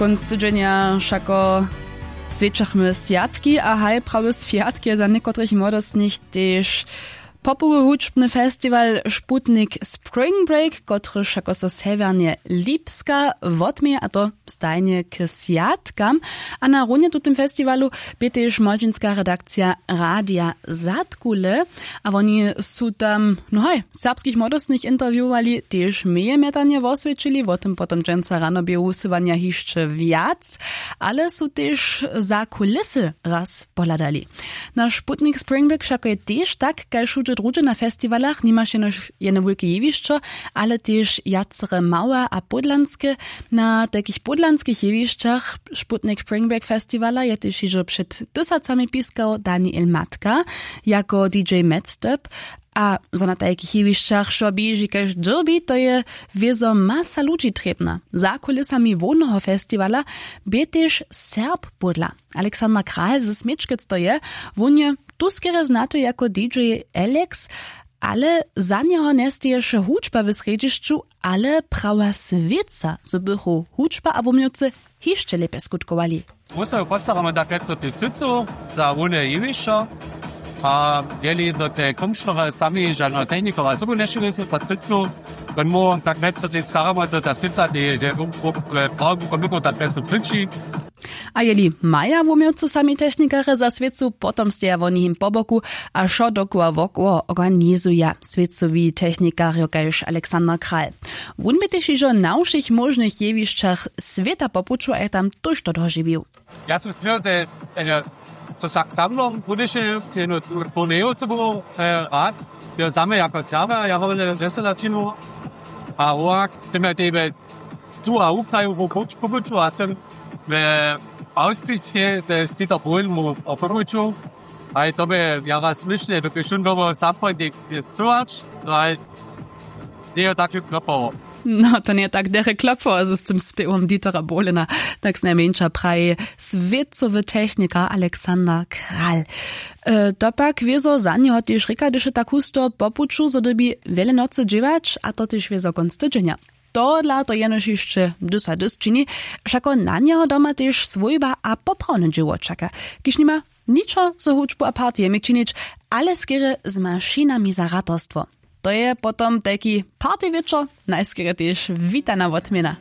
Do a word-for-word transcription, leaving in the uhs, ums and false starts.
Kónc tydźenja wšako swjećachmy swjatki a haj prawy swjatk je za někotrych młodostnych tež popowy hudźbny festiwal Sputnik Spring Break, kotryž wšako so sewjernje Lipska wotměje, a to stajnje k swjatkam. A na runje tutym festiwalu bě tež młodźinska redakcija Radija Zadkule. A woni su tam, no haj, serbskich młodostnych intervjuwowali, tež meje mjetanje woswjećili, wo tym potom dźensa rano běhu wusyłanja hišće wjac, ale su tež za kulisy raz pohladali. Naš Sputnik Spring Break wšako je tež tak kaž wšudźe druhdźe na festiwalach, nimaš jenož jene wulke jewišćo, ale tež wjacere małe a pódlanske. Na tajkich pódlanskich jewišćach Sputnik Spring Break festiwala je tež hižo před tysacami piskał Daniel Matka jako D J Medstep. A zo na tajkich jewišćach wšo běži kaž dyrbi, to je wězo masa ludźi trěbna. Za kulisami hłowneho festiwala bě tež Serb pódla. Alexander Kral ze Směčkec to je, wón je tu skerje znaty jako D J Alex, ale za njeho njesteješe hudźba w srjedźišću, ale prawa swěca, zo bychu hudźba a wuměłcy hišće lěpje skutkowali. Wósobu postaramy tak rjec o tež swěcu za hłowne jewišćo. A jeli do te komšnory sami žadno technikowa sobu nješili su pod swěcu, wón móhł tak rjec o tež staramy do ta swěca, te je prawu komiko tak rjec o swěći. A jeli maja wuměłcy sami technikarje za swěcu, potom steja woni jim po boku a wšo dokoła wokoło organizuja swěcowi technikarjo kaž Alexander Kral. Wón bě tež hižo na wšěch móžnych jewišćach swěta po puću a je tam tójšto dožiwił. Ja sym směł, że so wšak za mną budeš jednu turneju co był rad, jo same jako serwer ja wone wjesela činu. A wowak tym ja tebe tu a ukraju po puću a sym w austrijskej te spita połin mu o poruču. A je to by ja was słyšny dokelž šón dobo sam pojnik je spěwać. No a njejo tak lub klopował. No to njeje tak derje klopował z tym spěwom Dietera Bohlena. Tak znajmjeńša praji swěcowy technikar Alexander Kral. To pak wězo za njeho tež rěka hdyž je tak husto po puću zo dyrbi wjele nocy dźěłać a to tež wězo kónc tydźenja. Tohodla to jenož hišće dys a dys čini. Wšako na njeho doma tež swójba a poprawne dźěło čaka, kiž nima ničo z hudźbu a partijemi činić, ale skerje z mašinami za ratarstwo. To je potom tajki partijwječor, najskerje tež witana wotměna.